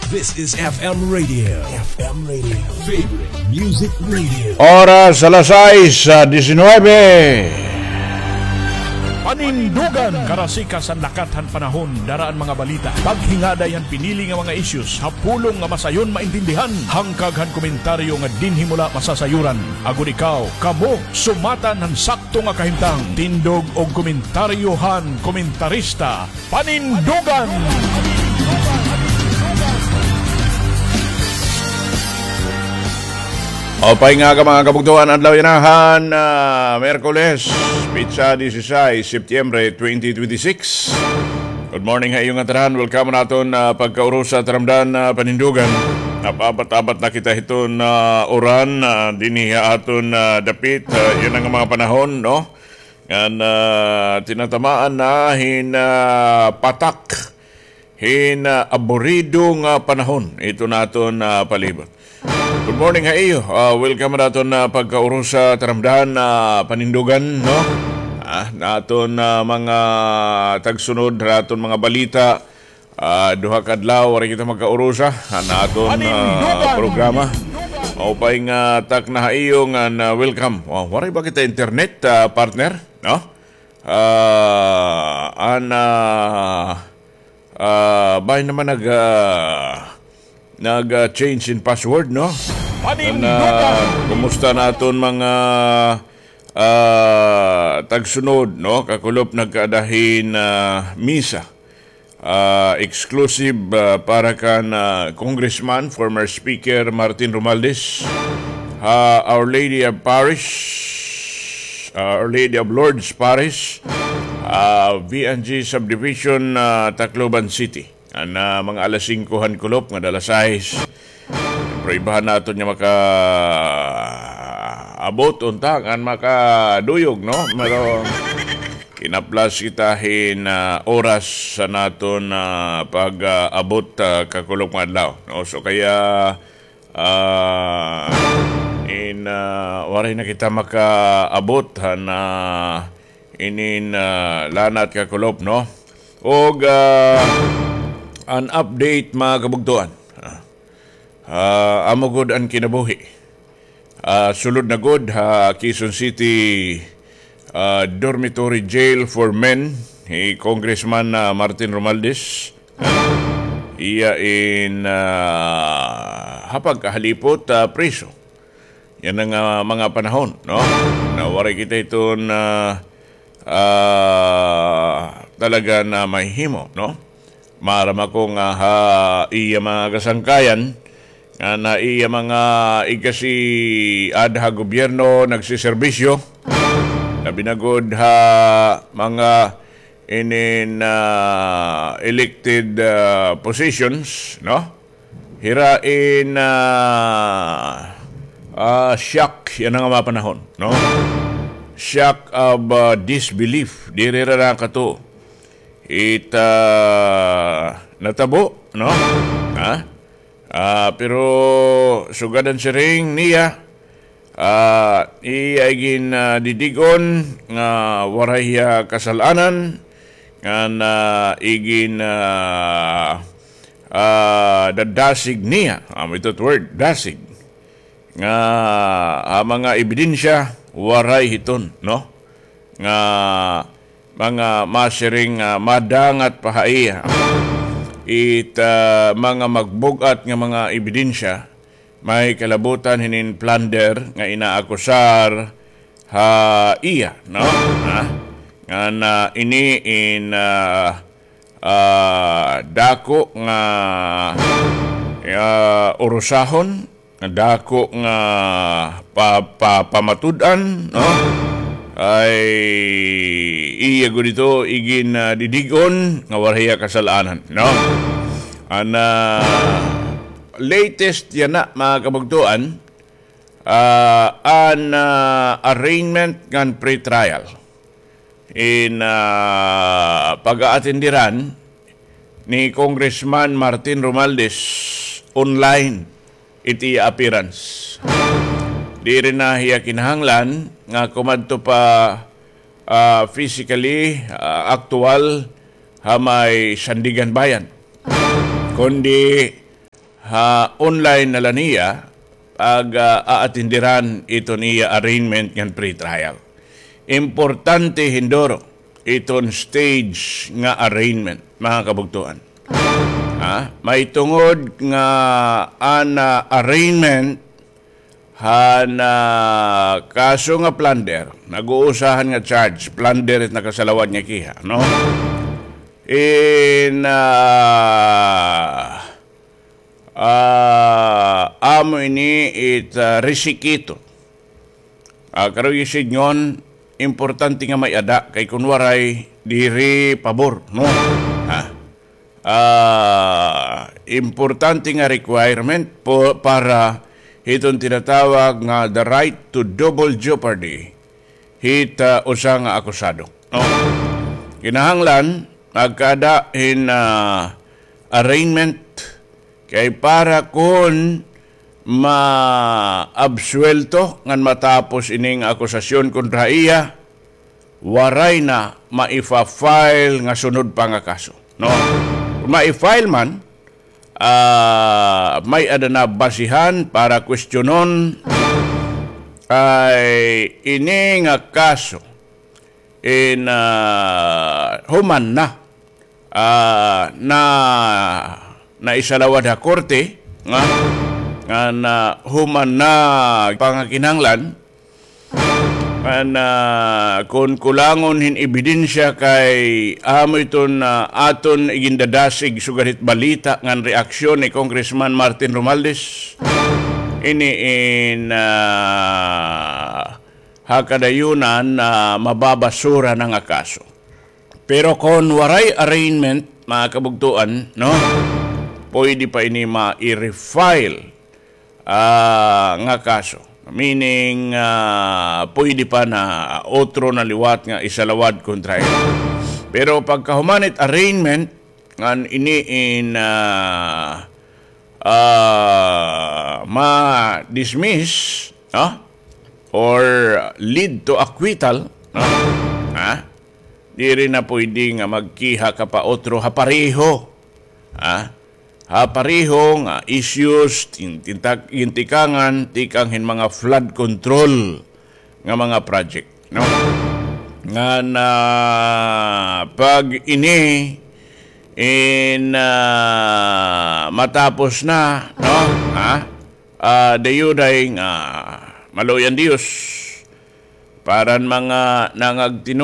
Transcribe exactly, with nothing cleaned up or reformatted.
This is F M Radio. F M Radio. Favorite Music Radio. Oras alas sais, ah, disinuybe. Panindugan. Karasika san lakat han panahon, dara an mga balita. Paghingaday han pinili nga mga issues, ha pulong nga masayon maintindihan. Hangkag han komentaryo nga dinhi mo la masasayuran. Agod ikaw, kamo, sumatan han sakto nga kahimtang. Tindog og komentaryo han komentarista. Panindugan! Maupay nga aga, mga kabugtoan, adlaw yana han, ah, Miyerkules, petsa disisais, Septyembre twenty twenty-six. Good morning ha iyo ngatanan. Welcome ha aton, ah, pagkaurusa taramdan, ah, Panindugan. Napa-abat-abat na kita hiton, ah, uran, ah, dinhi ha aton, ah, dapit, ah, yana nga mga panahon, no? Ngan, ah, tinatamaan na hin, ah, patak, hin, ah, aburido nga panahon hiton aton, ah, palibot. Good morning ha iyo. Ah, welcome ha aton, ah, pagkaurusa taramdan, ah, Panindugan, no? Ah, ha aton, ah, mga tagsunod, ha aton mga balita. Ah, duha ka adlaw waray kita magkaurusa han aton, ah, programa. Maupay nga takna ha iyo ngan, ah, welcome. Oh, waray ba kita internet, ah, partner? No? Ah, an, ah, ah, bangin naman nag, ah, nag, ah, change in password, no? An, ah, kumusta an aton mga, ah, tagsunod, no? Kakulop nagkaada hin, ah, misa. Ah, exclusive, ah, para kan, ah, Congressman, former Speaker Martin Romualdez, ha Our Lady of Parish, ah, Our Lady of Lourdes Parish, ah, V N G Subdivision, ah, Tacloban City. An, ah, mga alas singko han kulop ngada alas sais. Pruebahan naton nga makaabot unta ngan makaduyog, no? Pero kinaplas kita hin, ah, oras han aton, ah, pag-abot, ah, kakulop nga adlaw, no? So kaya, ah, in, ah, waray na kita makaabot han, ah, inin, ah, lanat kakulop, no? Og, ah, an update, mga kabugtoan. Ah, Ah, amo gud an kinabuhi. Ah, sulod na gud ha Quezon City, ah, dormitory jail for men hi Congressman, ah, Martin Romualdez. Iya in, ah, ha pagkahalipot, ah, priso. Yana nga mga panahon, no? Na waray kita hiton, ah, ah, talaga nga mahihimo, no? Maaram ako nga ha iya mga kasangkayan, nga na iya mga igkasi-ada ha gobyerno nagsiserbisyo, labi na gud ha mga inin, ah, elected, ah, positions, no? Hira in, ah, ah, shock yana nga mga panahon, no? Shock of, ah, disbelief. Diri hira nakatuo it, ah, natabo, no? Ha? Ah, pero sugad han siring niya, ah, iya igin, ah, didig-on nga waray hiya kasal-anan, ngan, ah, igin, ah, ah, dadasig niya. Amo ito it word, dasig. Nga, ah, mga ebidensya, waray hiton, no? Nga, mga masiring nga madangat pa ha iya it, ah, mga magbug-at nga mga ebidensya, may kalabutan hinin plunder nga inaakusar ha iya, no? Ha? Ngan ini in, ah, ah, dako nga, ah, urusahon, nga dako nga pa-, pa-, pamatud-an, no? Ay iya gud ito igin, ah, didig-on nga waray hiya kasal-anan, no? An, ah, latest yana, mga kabugtoan, ah, an, ah, arraignment ngan pretrial in, ah, pag-aatendiran ni Congressman Martin Romualdez online it iya appearance. Diri na hiya kinahanglan nga kumadto pa, ah, physically, ah, aktuwal ha may Sandiganbayan, kundi ha online na la niya pag, ah, aatindiran iton iya arraignment ngan pretrial. Importante hin duro iton stage nga arraignment, mga kabugtoan. Ha? Mahitungod nga an, ah, arraignment han, ah, kaso nga plunder, nag-uusahan nga charge, plunder it nakasalawad nga kiha, no? In, ah, ah, amo ini it, ah, resikito. Ah, karuyag sidngon, importante nga may-ada, kay kun waray, diri pabor, no? Ha? Ah, importante nga requirement po para hiton tinatawag nga the right to double jeopardy hit, ah, usa nga akusado. No? Kinahanglan, magkaada hin, ah, arraignment kay para kun maabsuwelto ngan matapos ini nga akusasyon kontra iya, waray na maifa-file nga sunod pa nga kaso, no? Kun mai-file man, ah, may-ada na basihan para kwestiyonon kay ini nga kaso in, ah, human na, ah, na, naisalawad ha korte, nga, nga na human na pangakinahanglan, nga na kun kulangon hin ebidensya kay amo iton, ah, aton igindadasig sugad hit balita ngan reaksyon ni Congressman Martin Romualdez. Ini in, ah, ha kadayunan, ah, mababasura na nga kaso. Pero kon waray arraignment, mga kabugtoan, no? Pwede pa ini ma-refile, ah, nga kaso. Meaning, ah, pwede pa na otro na liwat nga isalawad kontra iya. Pero pagkahuman it arraignment, ngan ini in, ah, ah, ma-dismiss, no? Or lead to acquittal, no? Ha? Diri na pwede nga magkiha ka pa otro ha pareho. Ha? Ha pareho nga issues, tin-, tintak-, gintikangan, tikang hin mga flood control nga mga project, no? Nga na pag ini in, ah, matapos na, no? Ha? Ah, dayuday nga maluoy an Diyos. Para an mga nangagtino